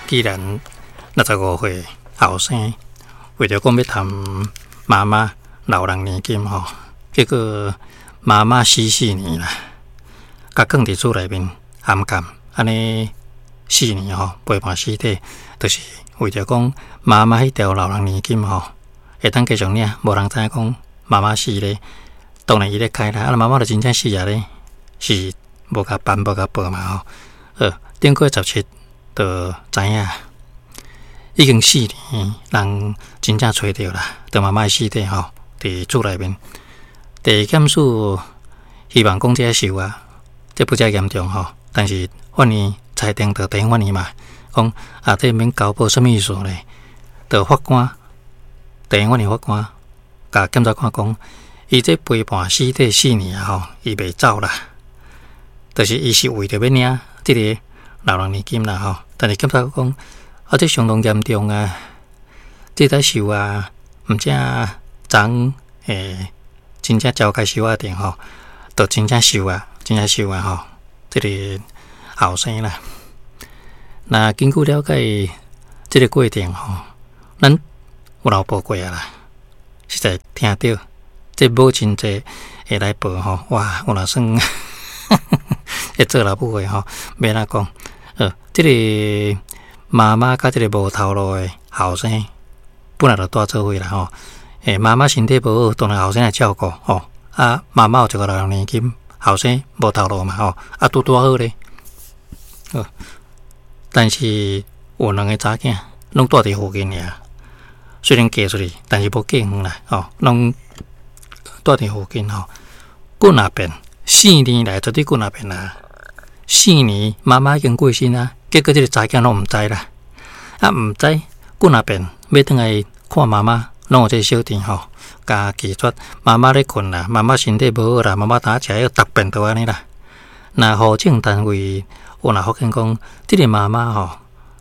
既然65歲後生，為著講欲趁媽媽老人年金吼，結果媽媽死四年啦，共囥佇厝內面頷禁，按呢四年吼陪伴屍體，就是為著講媽媽彼條老人年金吼，會當繼續領，無人知影講媽媽死咧，當然伊咧開啦，啊媽媽就真正死啊咧，是無共辦無共報嘛吼，好，頂個月17就知影。已經四年，人真正揣著啦，著媽媽的屍體吼，佇厝內面。地檢署希望講這受啊，這不遮嚴重吼，但是法院裁定著地方法院嘛，講啊，這免交報啥物意思咧？著法官，地方法院法官，共檢察官講，伊這陪伴屍體四年啊吼，伊袂走啦，就是伊是為著欲領這个老人年金啦吼，但是檢察官講。啊！這相當嚴重啊！這才受啊，毋正昨欸，真正召開收押庭吼，就真正受啊，真正受啊吼！這个後生啦，那根據了解這个過程吼，咱有人報過啊啦，實在聽著這母親節會來報吼，哇！有若算會做老母的吼，欲按怎講？這个。媽媽佮這个無頭路的後生，本來就蹛做伙啦吼。欸，媽媽身體無好，當然後生來照顧吼。啊，媽媽有一个老人年金，後生無頭路嘛吼。啊，拄拄好咧。但是有兩个查囝，攏蹛佇附近爾。雖然嫁出去，但是無嫁遠啦吼，攏蹛佇附近吼。幾若遍，四年來絕對幾若遍啊。四年，媽媽已經過身啊。結果這个查囝攏毋知啦，啊毋知幾若遍欲轉來看媽媽，攏有這个小弟吼，共拒絕。媽媽咧睏啦，媽媽身體無好啦，媽媽當食藥，逐遍都按呢啦。若戶政單位有若發現講，這个媽媽吼，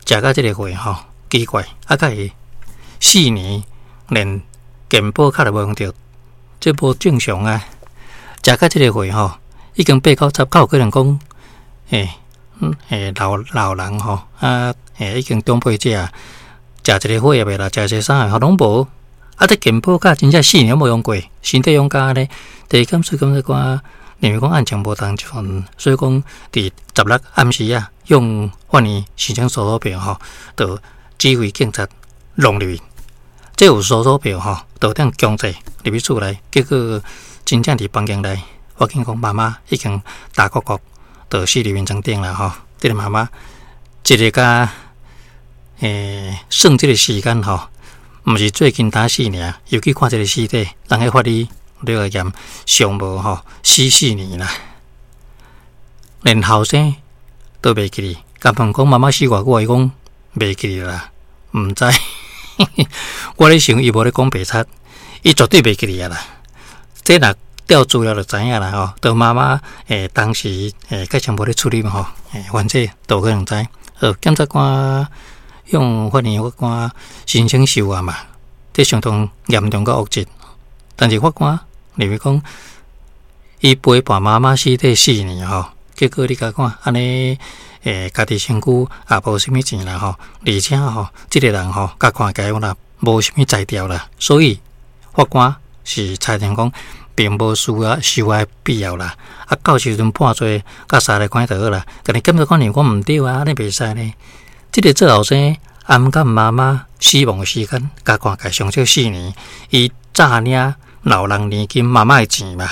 食到這个歲吼，奇怪，啊，敢會四年連健保卡都無用著，這無正常啊！食到這个歲吼，已經八九十，敢有可能講，欸？嗯，欸，老老人吼，啊，欸，已經長輩者，食一个血壓的啦，食一个啥的吼，攏無。啊，這健保卡真正四年無用過，身體養甲按呢，地檢署檢察官認為講案情無同款，所以講佇16暗時啊，向法院申請搜索票吼，就指揮警察弄入去。這有搜索票吼，就當強制入去厝內，結果真正佇房間內發現講媽媽已經打國國。就死佇眠床頂啦吼，這个媽媽一个共欸算這个時間吼，毋是最近打死爾，又去看這个屍體，人彼法醫來驗上無吼死四年啦，連後生都袂記得，共問講媽媽死偌久，伊講袂記得啦，毋知。我咧想伊無咧講白賊，伊絕對袂記得啊啦，這若。調資料就知影啦吼，著媽媽欸當時欸較前無咧處理嘛吼，欸反正都可能知。好，檢察官向法院法官申請收押嘛，這相當嚴重佮惡質。但是法官認為講，伊陪伴媽媽屍體四年吼，結果你共看按呢欸家己身軀也無啥物錢啦吼，而且吼這个人吼，共看起來啦無啥物才調啦，所以法官是裁定講。並無需要收押必要啦。啊，到時陣判罪，佮殺來關就好啦。但是檢察官認為講毋對啊，按呢袂使呢。這个做後生頷禁媽媽死亡的時間，共看起來上少四年，伊詐領老人年金媽媽的錢嘛，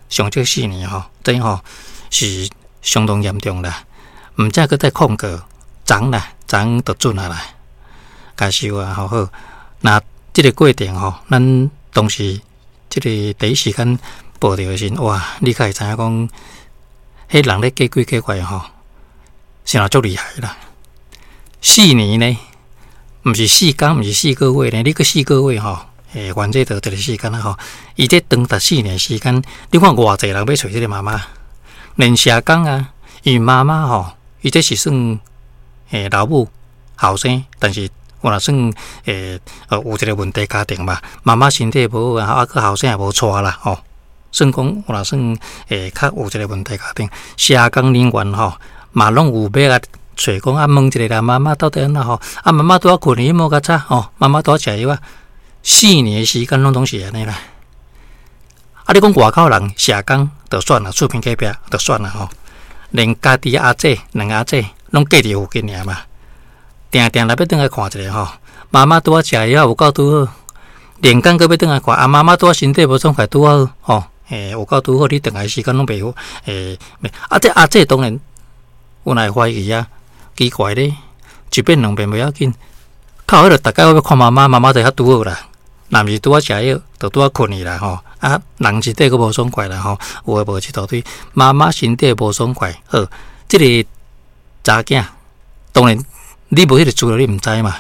上少四年吼，這吼是相當嚴重啦。毋才閣再控告，昨啦，昨就准啊啦，共收啊，好好。那這个過程吼，咱當時。這个第一時間報著的時陣，哇！你較會知影講，彼人咧假鬼假怪吼，是若足厲害啦。四年呢，毋是四工，毋是4個月呢，你閣四個月吼，欸，反正就一个時間啦吼。伊這長達四年時間，你看偌濟人欲揣這个媽媽，連社工啊，因為媽媽吼，伊這是算欸老母後生，但是。有若算欸，有一个問題家庭嘛，媽媽身體無好啊，啊閣後生也無娶啦吼，算講有若算欸，較有一个問題家庭，社工人員吼嘛攏有欲共揣講啊，問一下啦，媽媽到底按怎吼？啊，媽媽拄仔睏去，無較早吼，媽媽拄仔食藥啊，4年的時間攏總是按呢啦。啊，你講外口人社工就算啦，厝邊隔壁就算啦吼，連家己阿姐兩個阿姐攏隔佇附近爾嘛，定定來欲轉來看一下吼。媽媽拄仔食藥有夠拄好，連工閣欲轉來看，啊，媽媽拄仔身體無爽快拄仔好吼，欸，有夠拄好，你轉來時間攏袂好，欸，啊，這阿姐當然有來懷疑啊，奇怪咧，一遍兩遍袂要緊，靠彼個逐擺我欲看媽媽，媽媽就較拄好啦。若毋是拄仔食藥，就拄仔睏去啦吼。啊，人身體閣無爽快啦吼，有誒無一大堆。媽媽身體無爽快，好，這个查囝當然你無彼個資料，你毋知嘛。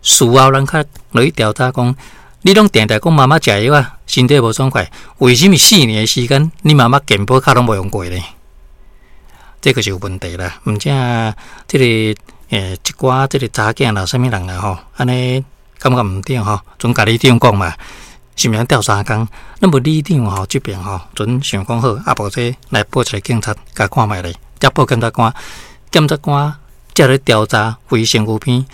事後咱較落去調查講，你攏定定講媽媽食藥啊，身體無爽快，為啥物4年的時間，你媽媽健保卡攏無用過呢？這個就有問題啦。毋正這个一寡這个查囝啦，啥物人啦吼，按呢。感覺毋對吼，陣共里長講嘛，是毋是調三工？咱無里長吼，這邊吼，陣想講好，啊無這來報一个警察，共看覓咧，才報檢察官，檢察官才咧調查非身軀片。